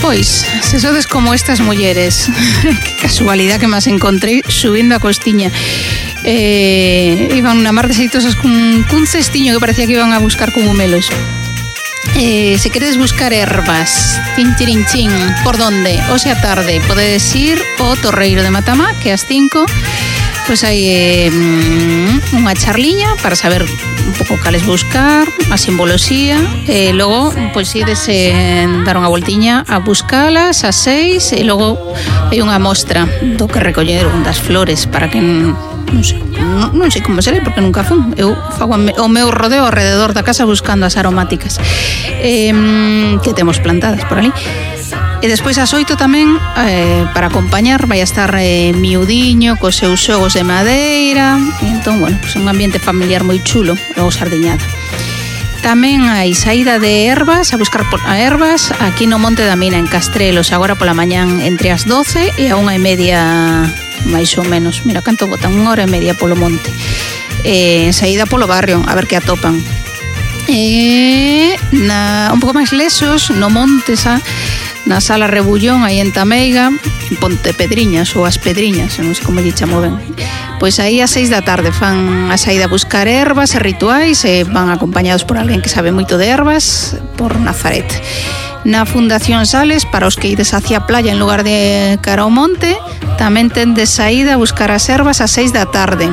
Pois, se sodes como estas mulleres, que casualidad que me as encontrei subindo a costiña. Iban na mar deseitosas cun cestiño que parecía que iban a buscar cogumelos. Se queredes buscar ervas, chin, por donde? Hoxe a tarde podedes ir ao Torreiro de Matamá, que ás 5 pois hai unha charliña para saber un pouco cales buscar, a simboloxía, e logo pois ides dar unha voltiña a buscalas ás 6 e logo hai unha mostra do que recolleron das flores para que non sei como será porque nunca fun. Eu fago o meu rodeo alrededor da casa buscando as aromáticas que temos plantadas por ali. E despois ás 8 tamén para acompañar vai a estar miudiño cos seus xogos de madeira. E entón, bueno, pues un ambiente familiar moi chulo, logo sardiñada. Tamén hai saída de ervas, a buscar ervas aquí no Monte da Mina en Castrelos, agora pola mañán entre as 12 e a 1:30 máis ou menos. Mira canto botan, 1:30 polo monte. Saída polo barrio, a ver que atopan. Un pouco máis lesos no monte na Sala Rebullón, aí en Tameiga, Ponte Pedriñas ou As Pedriñas, non sei como lle chamo ben. Pois aí ás 6 da tarde fan a saída a buscar ervas e rituais e van acompañados por alguén que sabe moito de ervas, por Nazaret. Na Fundación Sales, para os que ides hacia a playa en lugar de cara ao monte, tamén ten de saída a buscar as ervas ás 6 da tarde.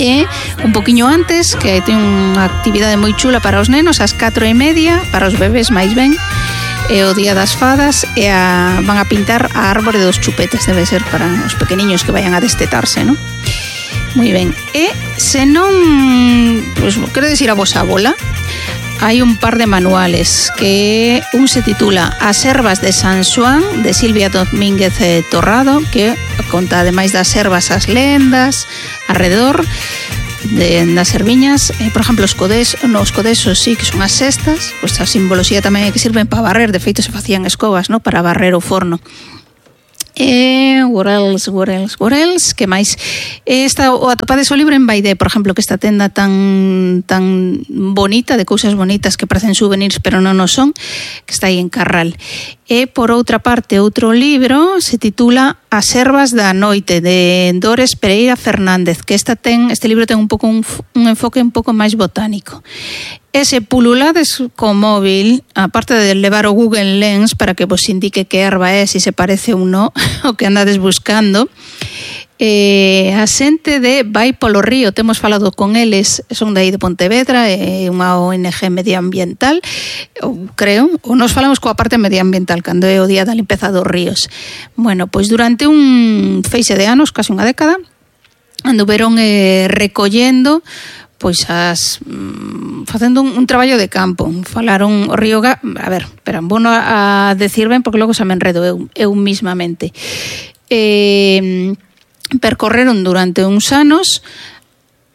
E un poquinho antes, que ten unha actividade moi chula para os nenos, ás 4:30, para os bebés máis ben, é o Día das Fadas e van a pintar a árbore dos chupetes, debe ser para os pequeniños que vayan a destetarse, non? Moi ben. E se non, pois, queredes ir a vosa bola, hai un par de manuales que un se titula As ervas de San Xoán, de Silvia Domínguez Torrado, que conta ademais das ervas as lendas alrededor das erviñas, por exemplo os codesos sí que son as cestas, pois a simboloxía tamén é que sirven para barrer, de feito se facían escobas, no, para barrer o forno. What else, que máis? O atopades o libro en Baidé, por exemplo, que esta tenda tan bonita, de cousas bonitas que parecen souvenirs pero non o son, que está aí en Carral. E por outra parte, outro libro se titula As ervas da noite, de Dores Pereira Fernández, que este libro ten un pouco un enfoque un pouco máis botánico. E se pululades co móvil, aparte de levar o Google Lens para que vos indique que erva é, se parece ou non, o que andades buscando, a xente de Vai polo Río, temos falado con eles, son de aí de Pontevedra, é unha ONG medioambiental, creo, ou nos falamos coa parte medioambiental cando é o Día da Limpeza dos Ríos. Bueno, pois durante un feixe de anos, casi unha década, anduveron recollendo pois facendo un traballo de campo. Falaron o río a ver, pero vou a decir ben porque logo xa me enredo eu mismamente. Percorreron durante uns anos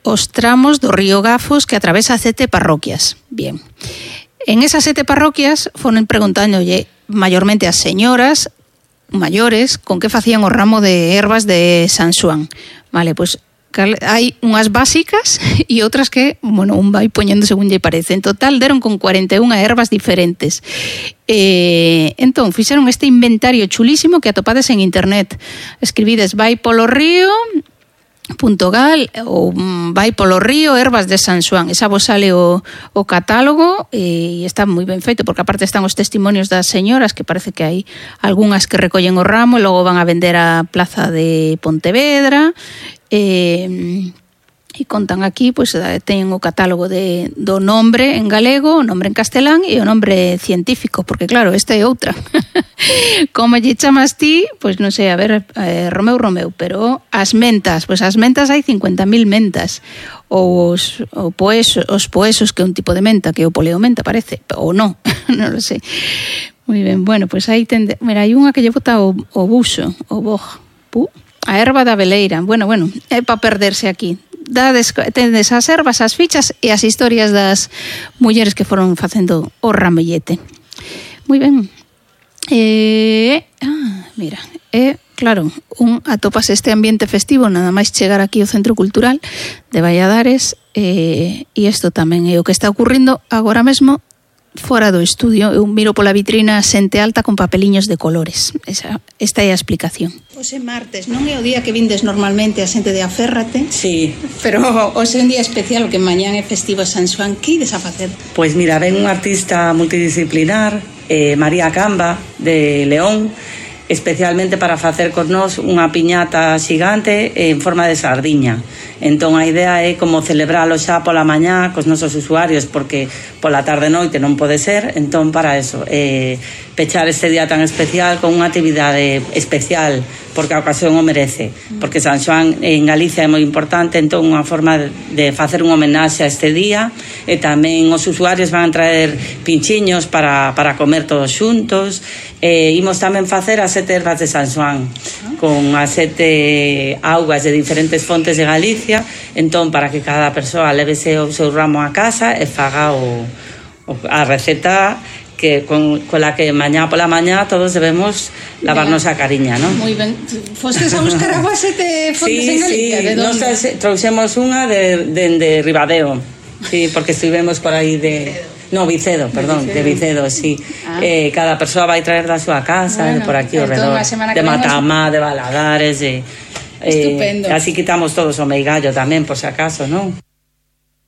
os tramos do río Gafos que atravesa 7 parroquias. Bien. En esas 7 parroquias foron preguntándolle mayormente as señoras maiores con que facían o ramo de ervas de San Xoán. Vale, pois hai unhas básicas e outras que, bueno, un vai poñendo según lle parece. En total deron con 41 ervas diferentes. Entón, fixeron este inventario chulísimo que atopades en internet. Escribides vai polo río .gal ou vai polo río ervas de San Xoán. Esa vos sale o catálogo e está moi ben feito porque aparte están os testimonios das señoras que parece que hai algunhas que recollen o ramo e logo van a vender a plaza de Pontevedra. E contan aquí, pois teñen o catálogo do nombre en galego, o nombre en castelán e o nombre científico, porque claro, esta é outra. Como lle chamas ti, pois non sei, a ver, Romeu, pero as mentas, pois as mentas hai 50.000 mentas. Ou os poesos, que é un tipo de menta, que é o poleomenta, parece, ou non, non lo sei. Moi ben, bueno, pois aí mira, hai unha que lle bota o buxo, o boj, a erva da veleira. Bueno, é para perderse aquí. Tendes as ervas, as fichas e as historias das mulleres que foron facendo o ramellete. Moi ben. Mira, claro, atopas este ambiente festivo nada máis chegar aquí ao Centro Cultural de Valladares e isto tamén é o que está ocurrindo agora mesmo fora do estudio. Eu miro pola vitrina xente alta con papeliños de colores. Esta é a explicación. Hoxe martes, non é o día que vindes normalmente a xente de Aférrate? Sí. Pero hoxe é un día especial, que mañán é festivo San Xoán. Que ides a facer? Pois mira, ven un artista multidisciplinar, María Camba, de León, especialmente para facer con nós unha piñata xigante en forma de sardiña. Entón a idea é como celebralo xa pola mañá cos nosos usuarios, porque pola tarde e noite non pode ser. Entón para eso, pechar este día tan especial con unha actividade especial, porque a ocasión o merece, porque San Xoán en Galicia é moi importante. Entón unha forma de facer un homenaxe a este día, e tamén os usuarios van a traer pinchiños para comer todos xuntos. Imos tamén facer as 7 ervas de San Xoán, con as 7 augas de diferentes fontes de Galicia. Entón, para que cada persoa levese o seu ramo a casa e faga a receta que con la que mañá pola mañá todos debemos lavarnos a cariña, non? Moi ben. Fostes a buscar agua 7 fontes en Galicia? Sí, de nos trouxemos unha de Ribadeo, sí, porque estivemos por aí de Vicedo, sí. Cada persoa vai traer da súa casa, de por aquí ao redor, de Matamá, de Valadares, estupendo. Así quitamos todos o meigallo tamén, por si acaso, non?